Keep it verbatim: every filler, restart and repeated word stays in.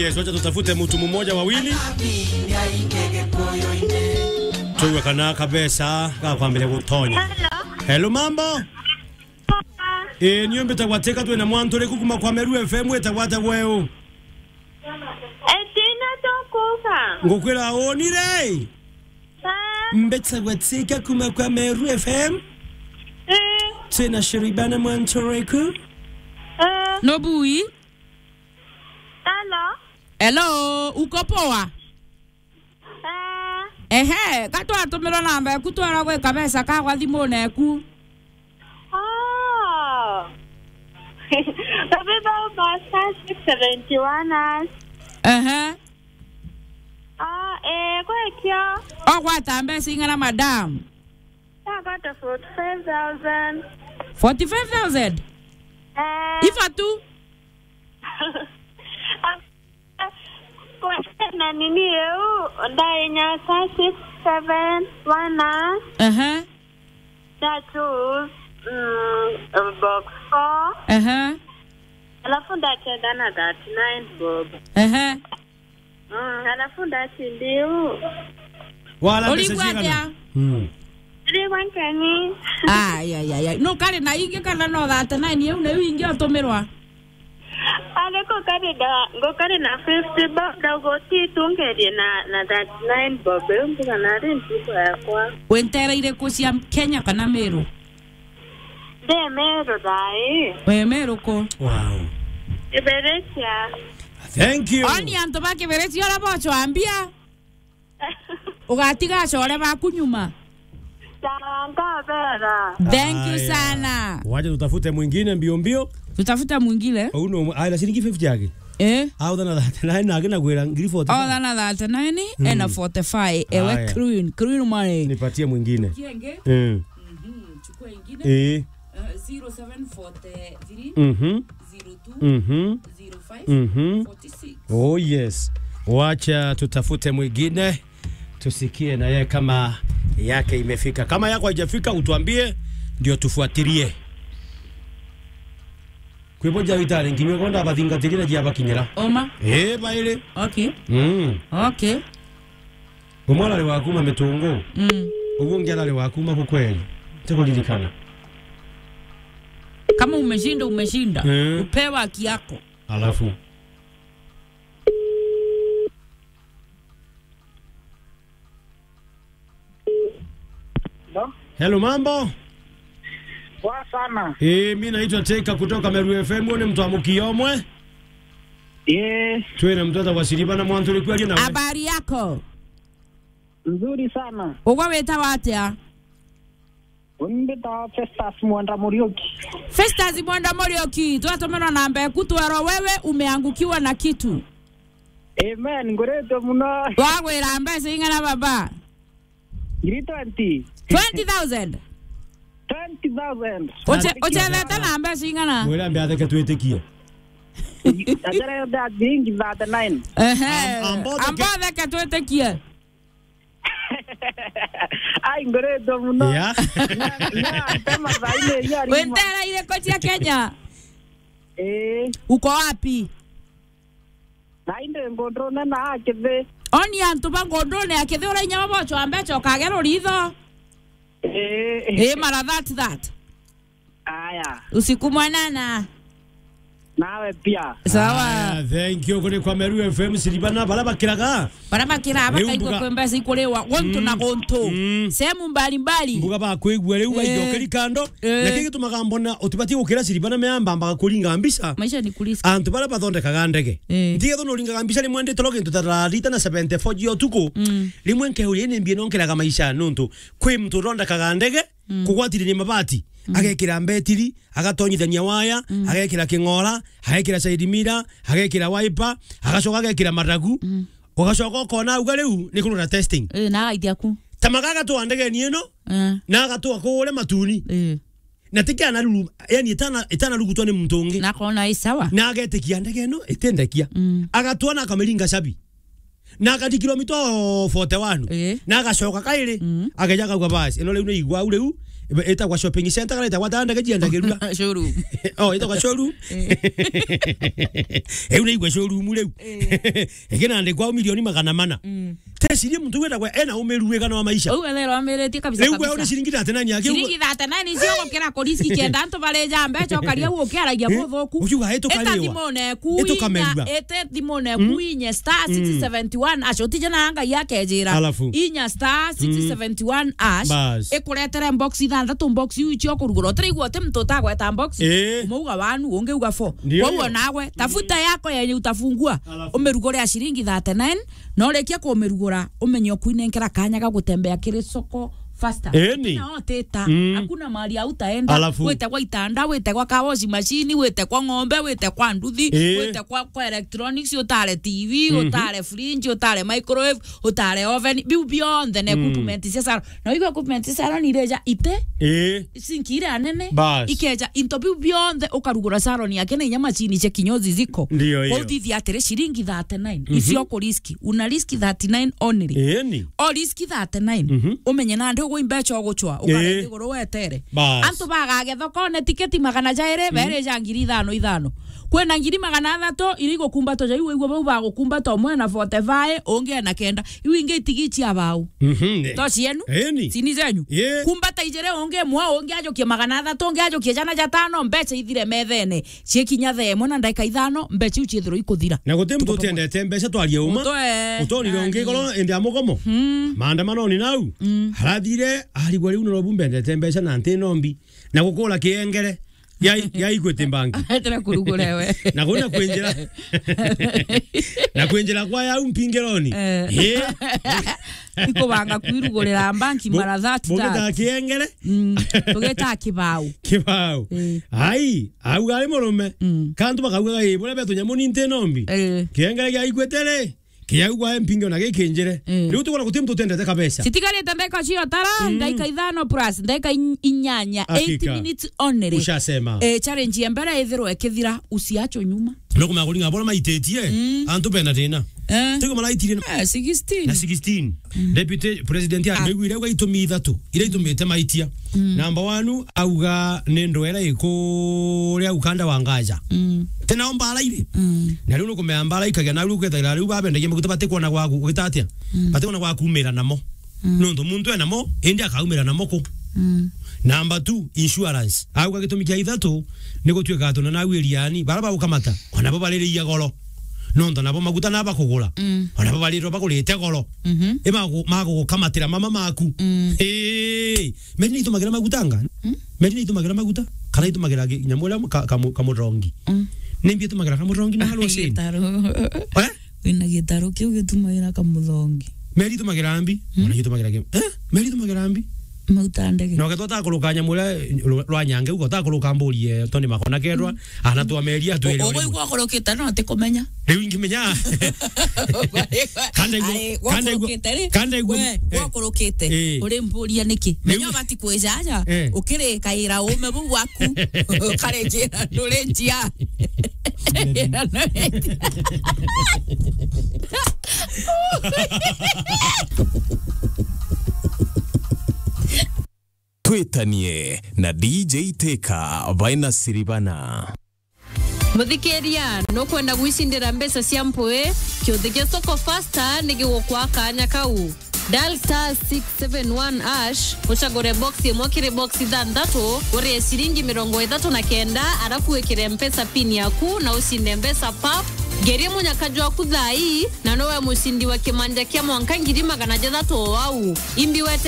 Yes, wacha tutafute mtu mmoja wawili. Tuwe kana kabesa, kakwambia kutonya. Hello. Hello, mambo? Poa. Eh, niyo mbitagwa Teka, twina mwantu uriku kuma kwa Meru F M, witagwa ata gweu? Etina tukuka. Ngukwira unire. Sa. Mbitagwa Teka kuma kwa Meru F M. Eh. Twina Sheribana mwantu uriku. Eh. Nobui. Hello. Hello, uko poa? Eh. Ehe, ka twatumirwa namba eku twara gwika besa kagwa thimune eku. Oh. Baby Bau Basta six seventy-one us. Ehe. Ah, eh, gwikio. Ogwata mbeca ing'ana, madam? Ndagwata forty-five thousand. Forty-five thousand? Eh. Iba tu. Kwena nini eu, ndainya sa six seven one. Aha. Ndatu, mm, box four. Aha. Alafu ndacheza na thirty-nine bob. Aha. Mm, alafu ndatindiu. Wala mbeca. Urigwa cigana? Atia? Mm. Urigwa nkeni. Ai, ai, ai, ai. No kari na ingi kana no thirty-nine iu niu ingi utumirwa? Ariko kari na, ngo kari na fifty bob, ndauga utitungerie na, na thirty-nine bob, iu mbuga nari ntuku yakwa. Wintera iriku cia Kenya kana Meru? Ndi Meru thaa ii. Wi Meru ku? Wow. Kiberecia. Thank you. Oni antu ba Kiberecia uria bochwambia. Ugatiga acore baku nyuma. Sawa, nkabera. Thank you sana. Wacha tutafute mwingine mbio mbio. Tutafuta mwingine. Uno, ai, na shilingi fifty yake. Eh? Au thana thirty-nine na akina gwira ngiri forty-five. Au thana thirty-nine, mm, ena forty-five. Ewe Queen, Queen money. Nipatie mwingine. Kienge. Eh. Mhm, chukua ingine. Eh. Eh, zero seven forty-three, mhm, zero two, mhm, zero five, mhm, forty-six. Oh yes. Wacha tutafute mwingine. Tusikie na yeye kama yake imefika. Kama yako haijafika, utuambie ndio tufuatilie. Kwibo ja itare nginya konda bathingatirie na jia bakinyira. Oma. Eh, baire. Okay. Mm. Okay. Umwe arari wa kuma Mitungu. Mm. Uguo ungi arari wa kuma Kukweli. Tikuririkana. Kama umeshinda, umeshinda. Mm. Upewa haki yako. Alafu. Hello? Hello, mambo? Poa sana. Eh, mi naitwa Teka kutoka Meru F M, ni mtu wa Mukiomwe. Eh. Twina mtoto wa Siriba na mwantu uri kwaria nawe. Habari yako? Nzuri sana. Ugwe witagwa atia? Mbita Festus Mwenda Muriuki. Festus Mwenda Muriuki, twatumirwa namba eku twerwa wewe umeangukiwa na kitu. Amen, nguritwe muno. Wagwira mbeca ing'ana baba? Ngiri twenty. Twenty thousand? Twenty thousand. Uche-, uchethete na mbeca ing'ana? Mwira ambe atheke twitikie. Ajara yote ati ingi thirty-nine. Ehe. Am-, ambo theke. Ambo theke twitikie. Ai, ngoretwo muno. Yeah. Na, na, ntema thaini iria rima. Wentera iriko cia Kenya? Eh. Uko wapi? Nai ndi ngundune na akithi. Oni antu ba ngundune akithi ura inya babocho ambecho kagero ritho. Eh. Eh, mara that, that. Aya. Usiku mwanana. Nawe pia. Sawa. Aya, thank you. Kuri kwa Meru F M, Siribana, bara bakiraga. Bara bakira, riu bakaigua mbuga kwe mbeca ikuriwa, guntu na guntu. Mm. Sehemu mbalimbali. Mbuga bakwigua riu, eh, baijokeri kando. Eh. Na kigi tumaga mbona utibati gukira Siribana meamba mbaga kuringa mbica. Maisha ni kurisk. Antu bara bathondekaga ndege. Eh. Ntigetho nuringaga mbica rimwe ndi toro gintu ta thaa thita na seventy-four cia utuku. Mm. Rimwe nkeuria ni mbia nonkeraga maisha nuntu kwi muntu uthondekaga ndege, mm, kugwatithania mabati, mm, agekira mbetiri, agatonyithania waya, mm, agekira king'ora, agekira side mirror, agekira wiper, agacoka agekira maragu. Mm. Ugacoka ukona auga riu ni kurura testing. Eh, na agaithia ku. Ta magaga twa ndegeni ino, eh, na agatwa kuure matuni. Eh. Na tiki anaruru, yani itana, itanarugutwa ni muntu ungi. Na akona i sawa. Na agetikia ndege ino itindekia. Mm. Agatwa na akamiringa cabi. Na akati kilomita forty-one. Eh. Na agacoka kairi, mm, ageja akauga, "Basi, ino riu ni igwau riu, Ibe-, itagwa shopping center kana itagwa ta ndege ciendagirua? Showroom. Oh, itagwa showroom. Eh. Riu naigua showroom riu. Eh. Ikinandikwa au milioni magana mana. Mm. Tecirie muntu wetagwa ena umiru wigana wa maisha. Uu etherwa amiritie kabisa. Riu gwe kabisa. Uri ciringi thirty-nine yake. Ciringi thirty-nine icio gukira kuriski kenda antu bareja mbeca ukaria u ukiaragia buthuku. Ukiuga itukarirwa. Ita thimune ku inya, itukamerua. Ite thimune ku inya star six seventy-one ash. Utije na Ngai akejira. Alafu. Inya star six seventy-one ash. Bas. Ikuretere box ithanthatu, box iu icio kurugura. Utiraigua uti muntu utagweta box. Eh. Umwe uga one, ungi uga four. Ndio. Kwa hiyo nawe, tafuta yako yenye utafungua. Alafu. Umirugure ya ciringi thirty-nine, na urikia kumirugura, umenye ukuinenkera kanya ga gutembea kiri soko faster. Eni. Na otita, mm, hakuna mahali hautaenda. Alafu. Wite kwa itanda, wite kwa car wash machine, wite kwa ng'ombe, wite kwa nduthi, eh, wite kwa, kwa electronics, utare T V, mhm, utare fridge, utare microwave, utare oven, biu bionthe na, mm, equipment cia salon. Na igo equipment cia salon ireja ite, eh, sinki iria nene, bas, ikeja into biu bionthe ukarugura salon yake na inya machine cia kinyozi ziko. Ndio, kwa hiyo. Uthithia atiri ciringi thirty-nine, mhm, icio ku risk, una risk thirty-nine only. Eni. O risk thirty-nine. Mhm. Umenye nandi ugwe imbeca ugucwa, eh, ukarenge iguru wetere. Bas. Antu bagagia thokone tiketi magana jairi, mm, bere ja ngiri ithano ithano. Kwina ngiri magana athatu iria igukumbatwa ja iu, igwe bau bagukumbata umwe na forty-five, ungi ena kenda. Iu ingi itigi cia bau. Mhm, eh. To cienu? Eni. Cini zenyu? Ye. Kumbata ijiri, ungi imwe, ungi ajukie magana athatu, ungi ajukie jana jatano, mbeca ithire methene. Cikinya thaa imwe na ndagika ithano, mbeca iu ciithirwa ikuthira. Na guti muntu utiendete mbeca, twarie uma. Muto, eh. Utonire ungi goro indi ya mugomo. Mm. Maandamanoni nau. Mm. Arathire, arigwa riu Nairobi mbendete mbeca na nti nombi. Na gukura kiengere. Ya, ya Equity Bank. Etera kurugura we. Na kuna kwinjira. Na kwinjira kwa yau mpingironi. Eh. Eh. Ikubanga kwirugurira banki mara thirty. Bugita kiengere. Mm. Tugita kibau. Kibau. Eh. Ai, au ari murume. Mm. Kantu bakaugaga, "Ii, buria betu nyamu ni nti nombi." Eh. Kiengere gia Equity ri. Kiaugwa mpinge ona gikinjire. Mm. Riu tukwona guti muntu utendete kabeca. Citigarite ndagika cio tara, mm, ndagika ithano plus, ndagika in-, inyanya, hakika, eight minutes only. Ushasema. Eh, challenge ya mbere ithirwe ikithira, usiachwe nyuma. No kumenya kuringa bora maititie, mm, antu bena thina. Eh. Tigo maraitirie na, eh, sixteen. Na sixteen. Mm. Deputy President, ah, ameguire uga itumi ithatu iria itumite maitia. Mm. Number one, auga ni ndwera ikuria ukanda wa Ngaja. Mm. Tena o mbara iri. Mm. Na riu nukumenya mbara ikagia, na riu ukethira riu babendagia maguta batikwona gwaku, ugita atia? Mm. Batikwona gwa kumira namo. Mm. Nontu muntu enamo, indi akaumira namo ku. Mm. Number two, insurance. Auga gitumi kia ithatu, ni gutuika atu na nau iriani, bara bagukamata, ona bo baririia goro. Nontu nabo maguta na bakugura. Mm. Ona bo barirwa bagurite goro. Mhm. I magu-, magugukamatira mama maku. Mm. Ii, meri ni itumagira maguta anga? Mm. Meri ni itumagira maguta? Kana itumagira gi-, nyamu iria ka-, kamu-, kamurongi? Mm. Ni mbi itumagira kamurongi na halo cini? Gitaro. Eh? Wina gitaro kiu gitumagira kamuthongi. Meri itumagira mbi? Mm. Ona itumagira ki-, eh? Meri itumagira mbi? Mauta ndege. Na ukethwa utakuruka nyamu iria rwa, rwa nyange ugo utakuruka mburi ye, toni makona kedwa, mm, ana twa meri atwire. O-, o-, uguo ikurukite no atikumenya. Riu ingimenya. Kanda igua, ai, kanda igua, gwakurukite ri? Kanda igua. We, eh, gwakurukite. Eh. Uri mburia niki? Riu menya bati kwijaja. Eh. Ukirikaira ume buu bwaku. Ukarenjira, ndurenjia. Twitanie na D J Teka baina Siribana. Muthikiria, nukwenda gwicindira mbeca cia mpui? Kiuthi kia Soko Faster ni gigukwa kanya kau. Dial star six seven one hash, ucagure box imwe kiri box ithanthatu, urie ciringi mirongo ithatu na kenda, arafu wikire Mpesa pin yaku na ucinde mbeca pap. Ngerie munyaka jwaku thaa ii, na nowe mucindi wa kimanja kia mwanka ngiri magana jathatu o au. Imbi wete